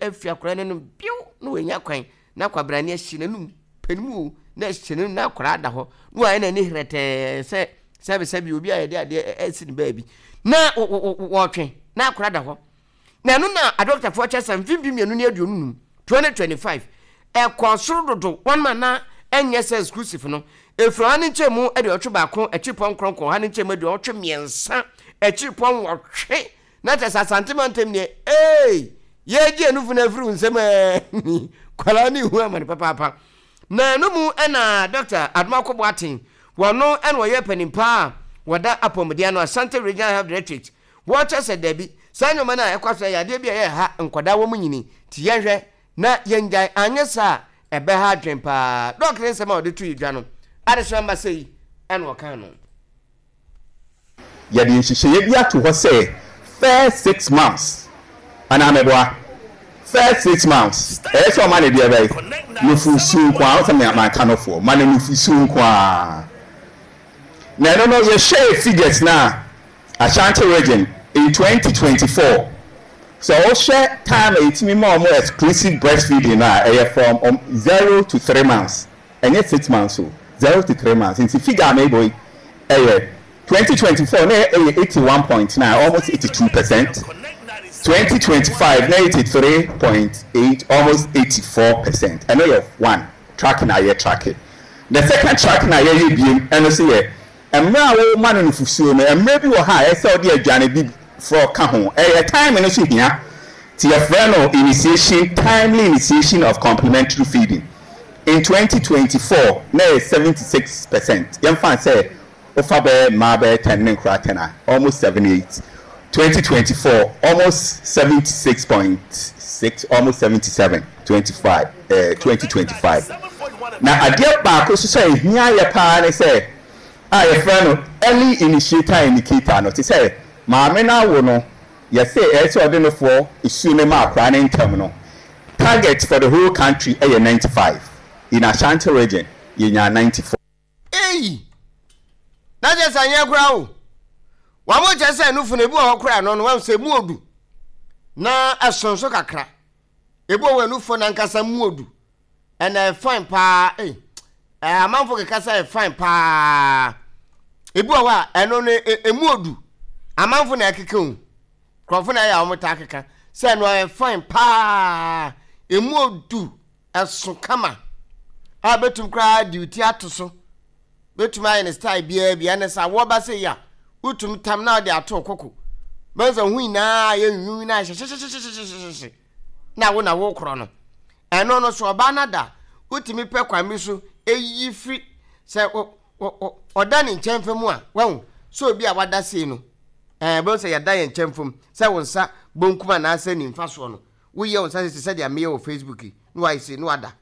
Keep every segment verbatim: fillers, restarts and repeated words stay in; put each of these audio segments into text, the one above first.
afi akwadaa no anum biw na wanya kwan na kwabrane ahyi n'anum panimu o na ahyɛ n'anum na akwadaa da hɔ na wayɛ n'ani herɛtɛɛ sɛ sɛbisɛbi obi a yɛde adeɛ asi ne baabi na wɔtwe na akwadaa da hɔ. Na ɛno na adɔktafoɔ kyerɛ sɛ mfimfini mmienu ne aduonu num twenty twenty-five ɛkɔ soro dodo. Wɔn ma na ɛnyɛ sɛ exclusive no efiri ɔha ne nkyɛn mu aduɔtwe baako akyiri pɔn nkorɔnkɔn ɔha ne nkyɛn mu aduɔtwe mmiɛnsa akyiri pɔn wɔtwe. Na kyerɛ sɛ Asante mantam deɛ, ee, yɛgye enufu no afiri nsɛm ɛɛ kwaraa ne ihu amane papaapa. Na ɛno mu ɛna Doctor Adomako Boaten, wɔno ɛna ɔyɛ panimpa a wɔda apɔmuden ano, Asante Regional Health Directorate, wɔkyɛ sɛ dabi, saa nneɛma no a ɛkɔ so yɛ adeɛ bi a ɛyɛ ha nkwadaa wɔ mu nyini ti yɛnhwɛ na yɛngyae, anyɛ saa ɛbɛha adwen paa. Doc ne nsɛm a ɔde to yi dwa no adesoma mba sɛ yi ɛna ɔka no. Yɛde nhyehyɛeɛ bi ato hɔ sɛ first six months anaa mɛboa, first six months ɛyɛ sɛ ɔma ne deɛ bɛyɛ nufusuo nko a ɔsɛ manka nofoɔ ma no nufusuo nko a. Na ɛno no yɛhyɛ figures na Ashanti Region in twenty twenty-four, sɛ ɔhyɛ time a yɛtumi ma ɔmo exclusive breastfeeding no a, ɛyɛ from um, zero to three months, ɛnyɛ six months o, zero to three months. Nti figure a mebɔ yi ɛyɛ twenty twenty-four na ɛyɛ eighty-one point nine, almost eighty-two percent. twenty twenty-five na eighty-three point eight, almost eighty-four percent. Ɛno yɛ one tracking a yɛ tracking. The second tracking a yɛyɛ biem, ɛno nso yɛ mmerɛ a wɔma no nufusuo no, mmerɛ bi wɔ ha a ɛsɛ ɔde aduane bi forɔ ka ho, ɛyɛ time no so hia ti yɛfrɛ no initiation, timely initiation of complementary feeding. In twenty twenty-four na yɛ seventy-six percent. Yɛmfa sɛ wofa bɛyɛ mmaa bɛyɛ ten ne nkora ten a, almost seventy-eight. twenty twenty-four almost seventy-six point six, almost seventy-seven, twenty-five, uh, twenty twenty-five. Na adeɛ baako nso sɛ ehia yɛ paa ne sɛ a yɛfrɛ no early initiator indicator no, te sɛ maame no awo no, yɛsɛ ɛyɛ sɛ ɔde nofoɔ esuo ne ma akwaraa ne ntɛm no, target for the whole country ɛyɛ ninety-five. In Ashanti Region yɛnya ninety-four. Eyi na kyerɛ sɛ anyɛ koraa o. Wɔn mo kyerɛ sɛ nufu no ebi wɔ hɔ koraa no no wɔn sɛ emu odu na ɛso nso kakra. Ebi wɔ hɔ nufu nankasa mu odu ɛna ɛfine paa. Ee, ɛɛ amanfo keka sɛ ɛfine paa. Ebi wɔ hɔ a ɛno no emu odu, amanfo na ɛkeka o, nkurɔfo na ɛyɛ a wɔn taa keka sɛ ɛno ɛyɛ fine paa, emu odu, ɛso kama a bɛtum koraa de ti ato so, bɛtumi ayɛ ne style biara bi. Ɛne sɛ awɔ ba sɛ yi a, wotum tam na ɔde ato koko bɛn sɛ ho nyinaa yɛ nwunwun na hyɛhyɛhyɛhyɛhyɛhyɛ na wo na wo korɔ no. Ɛno no so ɔbaa no da, wotumi pɛ kwan bi so eyi firi sɛ ɔda ne nkyɛn fam a, wahu sɛ obi a wada sei no, ɛɛ bɛn sɛ yɛda yɛn nkyɛn fam sɛ wo nsa bonkum anaasɛ nimfa soɔ no, woyɛ wo nsa sɛ sɛdeɛ meyɛ wɔ Facebook yi na wayɛ sei na wada.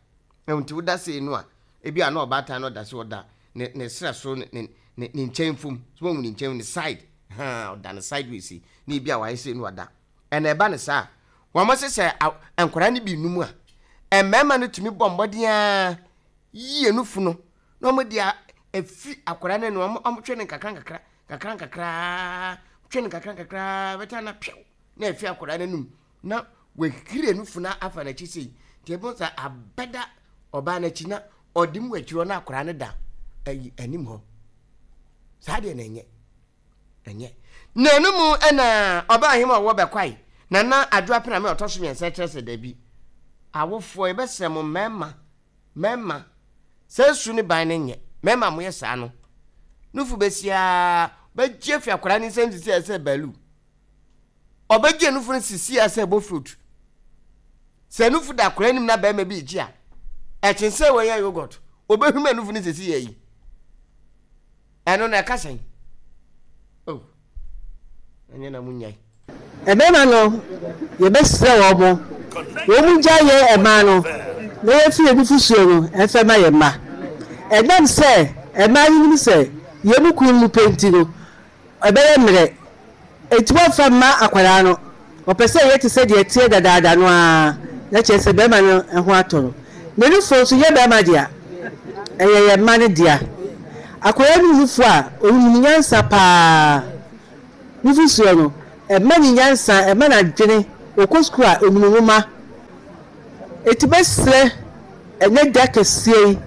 Nti woda sei no a, ebi a na ɔbaatan no ɔda so ɔda ne ne serɛ so, ne ne ne ne nkyɛn fam so, wɔn ne nkyɛn ne side haa ɔda ne sideways yi na ebi a wayɛ sei na wada. Ɛna ɛba ne saa, wɔn sɛ sɛ nkwadaa no bi num a, mmarima no tumi bɔ mmɔden a yie nufu no na wɔn de afi akwadaa no anim, wɔn twɛ ne nkakra nkakra nkakra nkakra, twɛ ne nkakra nkakra bɛtɛ na pɛw na afi akwadaa no anim na wɔahiri nufu no afa n'akyi sei. Nti ebi sɛ abɛda ɔbaa n'akyi na ɔde mu akyiri hɔ na akwadaa no da ayi anim hɔ saa deɛ na ɛnyɛ ɛnyɛ na ɛno mu. Ɛna ɔbaa ahema a ɔwɔ bɛkwae Nana Adwo Apena me ɔtɔ so mmiɛnsa kyerɛ sɛ dabi, awofoɔ yɛbɛsrɛ mo, mmarima mmarima, sɛ su ne ban no nyɛ mmarima moyɛ saa no, nufu bɛsiaa bɛgye afi akwadaa ne nsɛm sisi a sɛ balu ɔbɛgye nufu no sisi a sɛ ɛbɔ fruit sɛ nufu da akwadaa anim na bɛrima bi gye a ɛkyen sɛ wɔyɛ yogurt, obɛhwim nufu no sisi yɛ yi. Ɛno na ɛka sɛn oh, ɛnyɛ na mo nyae. Mmarima no, yɛbɛsrɛ wɔn mo wɔn mu gya yɛ mmaa no na yɛfiri nufusuo no ɛmfɛ ma yɛn mma. Ɛnam sɛ mmaa yi nim sɛ yɛn mu kun mu pɛ nti no ɛbɛyɛ mmerɛ eti wɔmfa mma akwadaa no, ɔpɛ sɛ yɛ te sɛ deɛ teɛ dadaada no ara na kyerɛ sɛ bɛrima no ho atɔ no. Na nufuo nso yɛ bɛrima dea, ɛyɛ yɛn mma no dea. Akwadaa no nufuo a ɔnim nyansa paa, nufusuo no ɛma ne nyansa, ɛma n'adwene, ɔkɔ sukuu a ɔnim nwoma. Eti bɛsrɛ ɛnɛ da kɛseɛ yi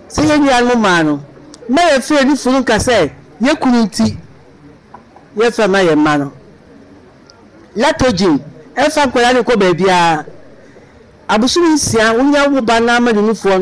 sɛ yɛn nuanom mmaa no, mma yɛmfa yɛn nufu no nka sɛ yɛn kunu nti yɛmfa mma yɛn mma no. Lactogen ɛmfa nkwadaa no nkɔ baabiara. Abosome nsia wonya wo ba no ama ne nufoɔ no.